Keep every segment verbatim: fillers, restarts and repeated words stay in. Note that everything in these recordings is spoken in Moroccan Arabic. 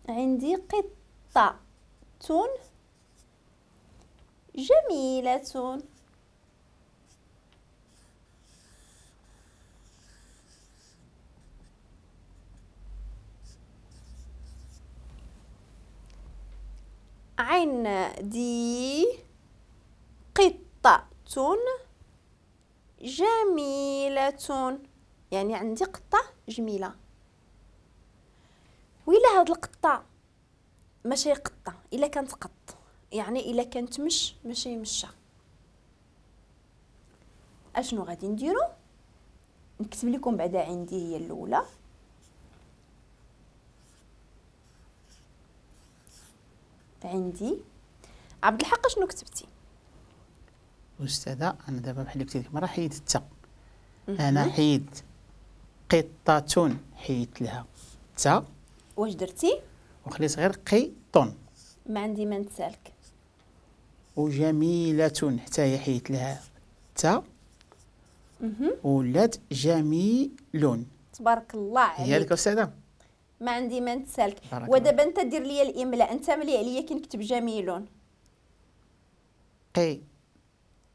عندي قطة جميلة. عندي قطة جميلة، يعني عندي قطة جميلة. وإلا هاد القطة ماشي قطة، إلا كانت قط، يعني إلا كانت مش ماشي مشة، أشنو غادي نديرو؟ نكتب لكم بعدا عندي هي الأولى. عندي عبد الحق شنو كتبتي؟ أستاذة أنا دابا بحال اللي قلت لك مرة حيدت التا، أنا حيدت قطة، حيدت لها تا. واش درتي؟ وخليت غير قطن. ما عندي ما نتسالك. وجميلة حتى هي حيدت لها تا ولات جميل. تبارك الله عليك. هي هذيك أستاذة؟ ما عندي ما نتسالك. ودابا انت دير لي الاملاء، انت ملي عليا كي نكتب جميل. قي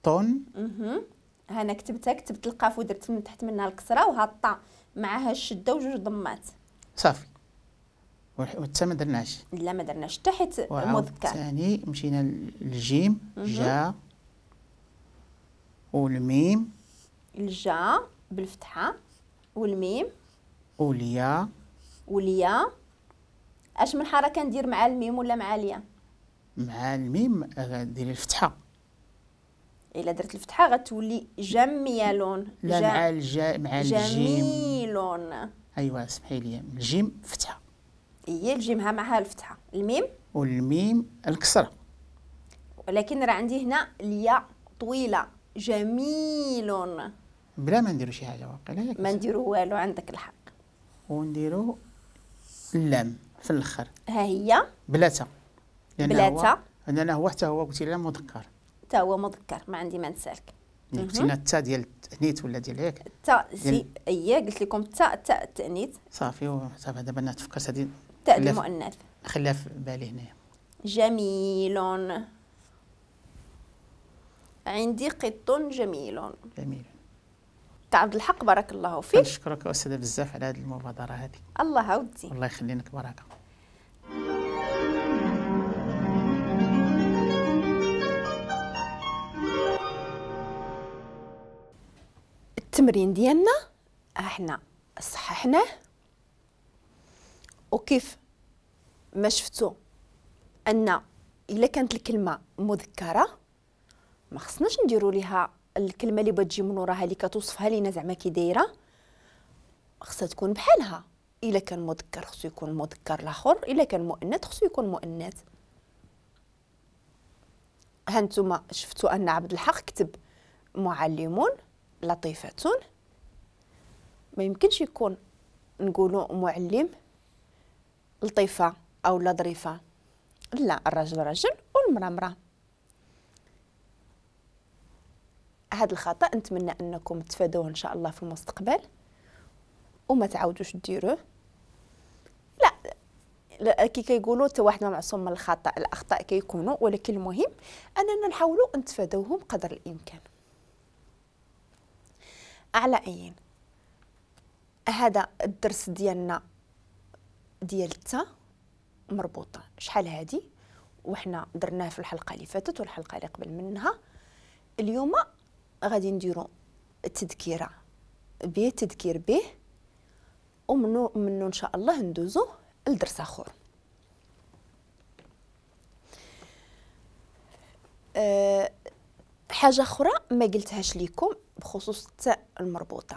طن. اها انا كتبتها، كتبت القاف ودرت من تحت منها الكسرة وها الطا معها الشدة وجوج ضمات. صافي. والتا ما درناش. لا ما درناش حتى حيت مذكر. ثاني مشينا للجيم جا والميم. الجا بالفتحة والميم واليا. واليا اش من حركة ندير مع الميم ولا مع اليا؟ مع الميم ديري الفتحة. الا درت الفتحة غتولي جميلون. لا مع الجا مع الجيم جميلون. ايوا سمحي لي، الجيم فتحه. هي الجيم ها معها الفتحة، الميم والميم الكسرة. ولكن راه عندي هنا الياء طويلة جميلون. بلا ما نديرو شي حاجة واقيلا ما نديرو والو، عندك الحق. ونديرو اللام في الاخر. ها هي بلا تا. بلا تا لان هو حتى هو قلتي لنا مذكر. حتى هو مذكر، ما عندي ما نسالك. قلتي لنا التا ديال التانيث ولا ديال ياك؟ التا سي اييه قلت لكم التا تاء التانيث. صافي صافي دابا انا تفكرت هذه تاء المؤنث. نخليها في بالي هنايا. جميل. عندي قط جميل. جميل. عبد الحق بارك الله فيك. نشكرك أستاذة بزاف على هذه المبادرة هذه. الله ودي. الله يخلينك بركة. التمرين ديالنا احنا صححناه، وكيف ما شفتوا ان الا كانت الكلمة مذكره ما خصناش نديروا ليها الكلمة اللي بتجي من وراها اللي كتوصفها لينا زعما كي دايرة، خصها تكون بحالها. الا كان مذكر خصو يكون مذكر الاخر، الا كان مؤنث خصو يكون مؤنث. ها نتوما شفتوا ان عبد الحق كتب معلم لطيفة، ما يمكنش يكون نقولوا معلم لطيفة او لا ظريفة، لا الرجل رجل والمراة مراة. هذا الخطأ نتمنى انكم تفادوه ان شاء الله في المستقبل وما تعاودوش ديروه. لا, لا كي كيقولوا حتى واحد ما معصوم من الخطأ، الاخطاء كيكونوا، ولكن المهم اننا نحاولوا نتفادوهم قدر الامكان. على اين هذا الدرس ديالنا ديال التا مربوطة شحال هادي وحنا درناه في الحلقة اللي فاتت والحلقة اللي قبل منها. اليوم غادي نديرو التذكيره به، تذكير به، ومنو منو ان شاء الله ندوزو لدرس اخر. أه حاجة اخرى ما قلتهاش لكم بخصوص التاء المربوطه.